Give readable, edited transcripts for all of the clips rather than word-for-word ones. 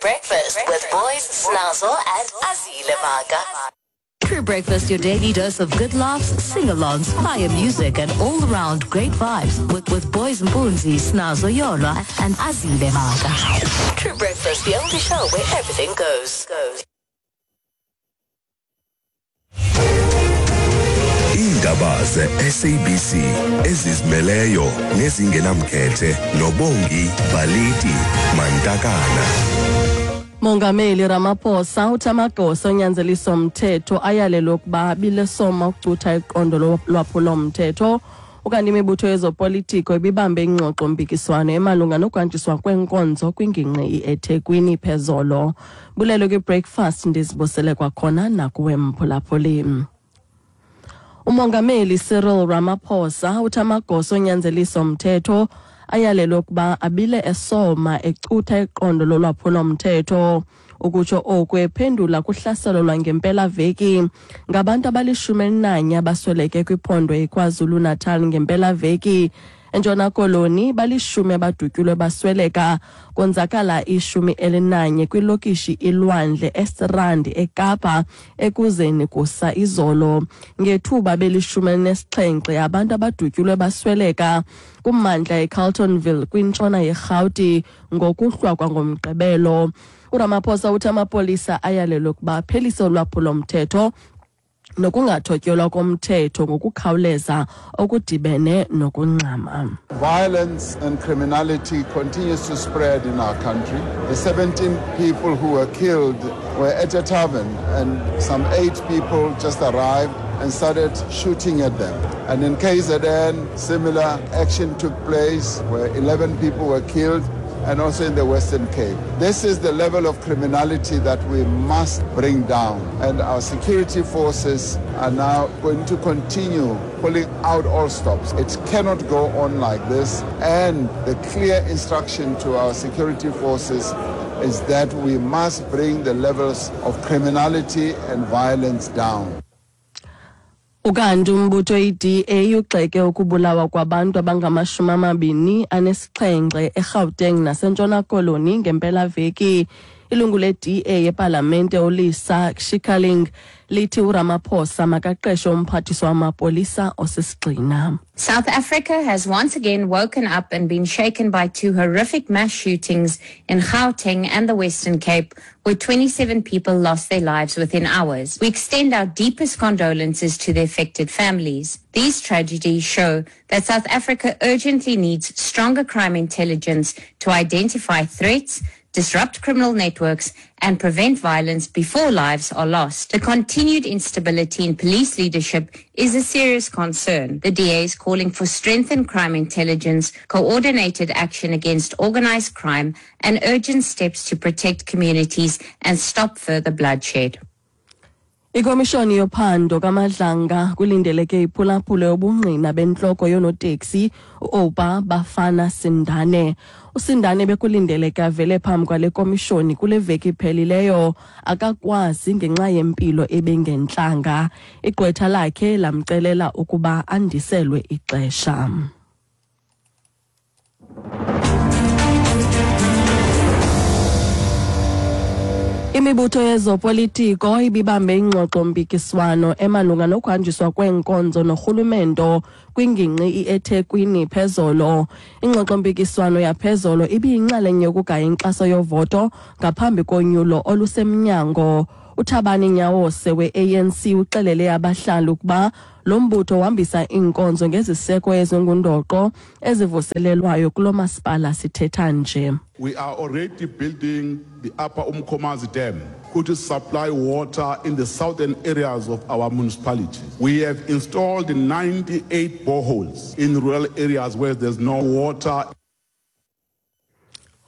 Breakfast with Boys, Snazo and Azile Maka. True Breakfast, your daily dose of good laughs, sing-alongs, fire music, and all-round great vibes with Boys Mpunzi, Snazo Yola, and Azile Maka. True Breakfast, the only show where everything goes. Iindaba ze-SABC ezizimeleyo nezingenamkhethe noBongi Baliti Mantakana. Mongameli Ramaphosa uthi amagosa onyanzeliso mthetho ayalelwe ukuba abilesoma ukucutha iqondo lwaphulo-mthetho. Ukanti imibutho yezopolitiko ibibambe ingxoxo-mpikiswano emalunga nokuhanjiswa kweenkonzo kwingingqi iEthekwini phezolo. Bulelo kwi-breakfast, ndizibusele kwakhona nakuwe mphulaphuli. Umongameli Cyril Ramaphosa uthi amagosa onyanzeliso mthetho ayalelwe ukuba abile esoma ecutha iqondo lolwaphulo-mthetho. Ukutsho oku ephendula kuhlaselo lwangempelaveki ngabantu abali-11 abasweleke kwiphondo iKwaZulu-Natal ngempelaveki. ENtshona Koloni bali-10 abadutyulwe basweleka, konzakala 11 kwilokishi iLwandle eStrand eKapa ekuzeni kusa izolo. Ngethuba beli-17 abantu abadutyulwe basweleka kummandla eCarltonville kwintshona yeRhawuti ngokuhlwa kwangoMgqibelo. URamaphosa uthi amapolisa ayalelwe ukuba aphelise ulwaphulo-mthetho nokungathotyelwa komthetho ngokukhawuleza okudibene nokungxama. Violence and criminality continues to spread in our country. The 17 people who were killed were at a tavern, and some 8 people just arrived and started shooting at them. And in KZN, similar action took place where 11 people were killed, and also in the Western Cape. This is the level of criminality that we must bring down. And our security forces are now going to continue pulling out all stops. It cannot go on like this. And the clear instruction to our security forces is that we must bring the levels of criminality and violence down. Ukanti umbutho i-DA ugxeke ukubulawa kwabantu abangama-27 eGauteng naseNtshona Koloni ngempelaveki. Ilungu le-DA epalamente uLisa Schickerling lithi uRamaphosa makaqeshe umphathiswa wamapolisa osisigxina. South Africa has once again woken up and been shaken by 2 horrific mass shootings in Gauteng and the Western Cape, where 27 people lost their lives within hours. We extend our deepest condolences to the affected families. These tragedies show that South Africa urgently needs stronger crime intelligence to identify threats, disrupt criminal networks, and prevent violence before lives are lost. The continued instability in police leadership is a serious concern. The DA is calling for strengthened crime intelligence, coordinated action against organized crime, and urgent steps to protect communities and stop further bloodshed. Ikomishoni yophando kaMadlanga kulindeleke iphulaphule ubungqina bentloko yonoteksi uOpa Bafana Sindane. USindane bekulindeleke avele phambi kwale komishoni kule veki iphelileyo, akakwazi ngenxa yempilo ebengentlanga. Igqwetha lakhe lamcelela ukuba andiselwe ixesha. Imibutho yezopolitiko ibibambe ingxoxo-mpikiswano emalunga nokuhanjiswa kweenkonzo norhulumento kwingingqi iEthekwini phezolo. Ingxoxo-mpikiswano yaphezolo ibiyinxalenye yokugaya inkxaso yovoto ngaphambi konyulo olusemnyango. uThabani Nyawose we-ANC uxelele abahlali ukuba lo mbutho uhambisa iinkonzo ngeziseko ezingundoqo ezivuselelwayo kulo masipala sithetha nje. We are already building the Upper Umkomazi Dam, which will supply water in the southern areas of our municipality. We have installed 98 boreholes in rural areas where there's no water.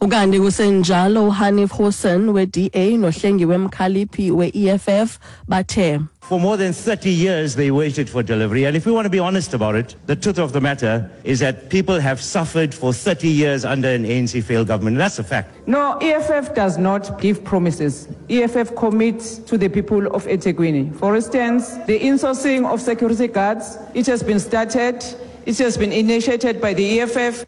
Ukanti kusenjalo uHanif Hoosen we-DA noHlengiwe Mkhaliphi we-EFF bathe For more than 30 years they waited for delivery, and if we want to be honest about it, the truth of the matter is that people have suffered for 30 years under an ANC failed government. That's a fact. No, EFF does not give promises. EFF commits to the people of eThekwini. For instance, the insourcing of security guards, it has been started, it has been initiated by the EFF.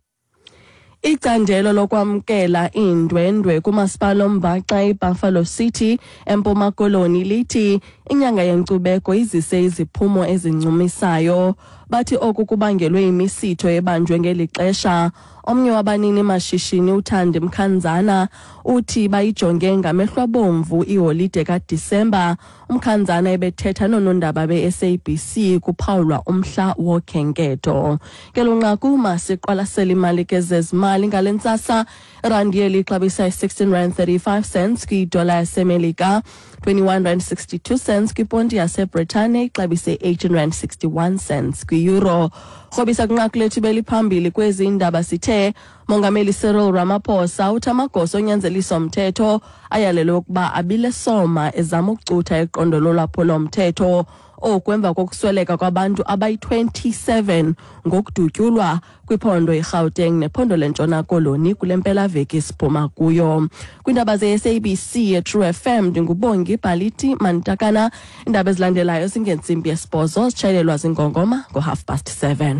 Icandelo lokwamkela iindwendwe kumasipala ombaxa iBuffalo City eMpuma Koloni lithi inyanga yenkcubeko izise iziphumo ezincumisayo. Bathi oku kubangelwe imisitho ebanjwe ngeli xesha. Omnye wabanini mashishini uThandi Mkhanzana uthi bayijonge ngamehlo abomvu iholide kaDisemba. UMkhanzana ebethetha noonondaba be-SABC kuphawulwa umhla wokhenketho. Ngelo nqaku masiqwalasele imali ke zezimali ngale ntsasa. Irandi yeli ixabisa i-16 rand 35 cents kwidola yaseMelika, 21 rand 62 cents kwiponti yaseBritane, ixabise 18 rand 61 cents kwi-euro. Rhobisa kwinqaku lethu beliphambili kwezi indaba sithe Mongameli Cyril Ramaphosa uthi amagosa onyanzeliso mthetho ayalelwe ukuba abile soma ezama ukucutha iqondo lolwaphulo-mthetho. Oku emva kokusweleka kwabantu abayi-27 ngokudutyulwa kwiphondo iGauteng nephondo leNtshona Koloni kule mpelaveki siphuma kuyo. Kwiindaba ze-SABC yeTrue FM ndinguBongi Bhaliti Mantakana. Iindaba ezilandelayo zingentsimbi yesibhozo, zitshayelelwa zingongoma ngo-7:30.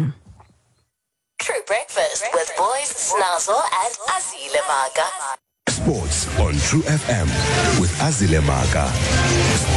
True Breakfast with Boys, Snazzle and Azile Maka. Sports on True FM with Azile Maka. Sports.